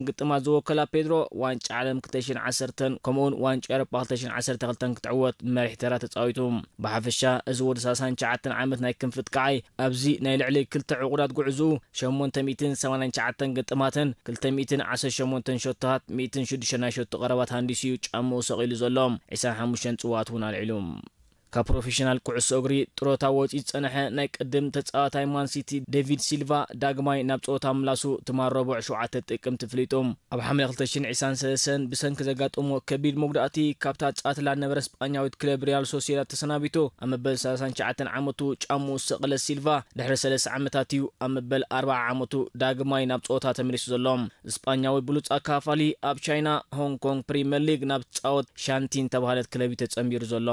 ግጥማት ዝወከላ ፔድሮ ዋንጫ ዓለም ክልተ ሽሕን ዓሰርተን ከምኡውን ዋንጫ ኤሮፓ ክልተ ሽሕን ዓሰርተ ክልተን ክትዕወት መሪሕ ተራ ተጻዊቱ። ብሓፈሻ እዚ ወዲ ሰላሳን ትሽዓተን ዓመት ናይ ክንፊ ኣጥቃዓይ ኣብዚ ናይ ልዕሊ ክልተ ዕቑዳት ጉዕዝኡ ሸሞንተ ሚእትን ሰማንያን ትሽዓተን ግጥማትን ክልተ ሚእትን ዓሰርተ ሸሞንተን ሸቶታት ሚእትን ሽዱሽተ ናይ ሸቶ ቀረባት ሃንዲሱ እዩ ጫምኡ ሰቒሉ ዘሎ። ዕስራን ሓሙሽተን ጽዋት እውን ኣልዒሉ። ካብ ፕሮፌሽናል ኩዕሶ እግሪ ጥሮታ ወፂኡ ዝፀንሐ ናይ ቅድም ተፃዋታይ ማንሲቲ ዴቪድ ሲልቫ ዳግማይ ናብ ፀወታ ምላሱ ትማል ረቡዕ ሸውዓተ ጥቅምቲ ፍሊጡ። ኣብ ሓምለ ክልተ ሽሕን ዕስራን ሰለስተን ብሰንኪ ዘጋጠሞ ከቢድ መጉዳእቲ ካብታ ፃትላ ነበረ ስጳኛዊት ክለብ ሪያል ሶሲዳድ ተሰናቢቱ ኣብ መበል ሰላሳን ትሽዓተን ዓመቱ ጫምኡ ዝሰቐለ ሲልቫ ድሕሪ ሰለስተ ዓመታት እዩ ኣብ መበል ኣርብዓ ዓመቱ ዳግማይ ናብ ፀወታ ተመሊሱ ዘሎ። ስጳኛዊ ብሉፅ ኣካፋሊ ኣብ ቻይና ሆንግ ኮንግ ፕሪምየር ሊግ ናብ ትፃወት ሻንቲን ተባሃለት ክለብ እዩ ተፀንቢሩ ዘሎ።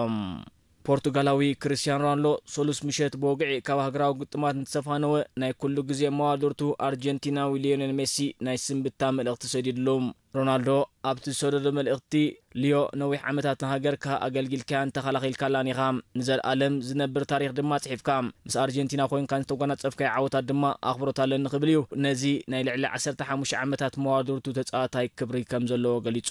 ፖርቱጋላዊ ክርስቲያኖ ሮናልዶ ሰሉስ ምሸት ብወግዒ ካብ ሃገራዊ ግጥማት እንተሰፋነወ ናይ ኩሉ ግዜ መዋድርቱ ኣርጀንቲናዊ ሊዮኔል ሜሲ ናይ ስንብታ መልእኽቲ ሰዲድሉ። ሮናልዶ ኣብቲ ዝሰደዶ መልእኽቲ ሊዮ ነዊሕ ዓመታት ንሃገርካ ኣገልጊልካያን ተኸላኺልካላን ኢኻ። ንዘልኣለም ዝነብር ታሪኽ ድማ ጽሒፍካ። ምስ ኣርጀንቲና ኮይንካ ዝተጓናጸፍካዮ ዓወታት ድማ ኣኽብሮት ኣለኒ ክብል እዩ ነዚ ናይ ልዕሊ ዓሰርተ ሓሙሽተ ዓመታት መዋድርቱ ተጻዋታይ ክብሪ ከም ዘለዎ ገሊጹ።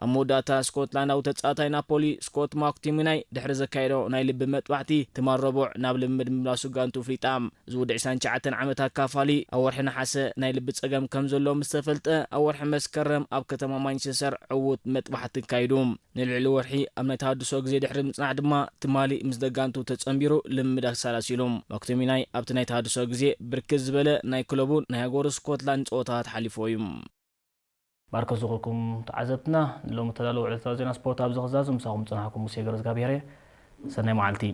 ኣብ መወዳእታ ስኮትላንዳዊ ተጻዋታይ ናፖሊ ስኮት ማክቶሚናይ ድሕሪ ዘካየዶ ናይ ልቢ መጥባሕቲ ትማል ረቡዕ ናብ ልምምድ ምምላሱ ጋንቱ ፍሊጣ። እዚ ወዲ ዕስራን ትሽዓተን ዓመት ኣካፋሊ ኣብ ወርሒ ነሓሰ ናይ ልቢ ጸገም ከም ዘለዎ ምስ ተፈልጠ ኣብ ወርሒ መስከረም ኣብ ከተማ ማንቸስተር ዕዉት መጥባሕቲ ኣካይዱ። ንልዕሊ ወርሒ ኣብ ናይ ተሃድሶ ግዜ ድሕሪ ምጽናሕ ድማ ትማሊ ምስ ደጋንቱ ተጸንቢሩ ልምምድ ኣሳላሲሉ። ማክቶሚናይ ኣብቲ ናይ ተሃድሶ ግዜ ብርክት ዝበለ ናይ ክለቡን ናይ ሃገሩ ስኮትላንድ ጸወታታት ሓሊፍዎ እዩ። ማርከስ ዝኾንኩም ተዓዘብትና ንሎሚ ተዳለወ ዕለታዊ ዜና ስፖርት ኣብዚ ክዛዙ ምሳኹም ጽናሕኩም ሙሴ ገረዝጋብሔር እየ። ሰናይ መዓልቲ።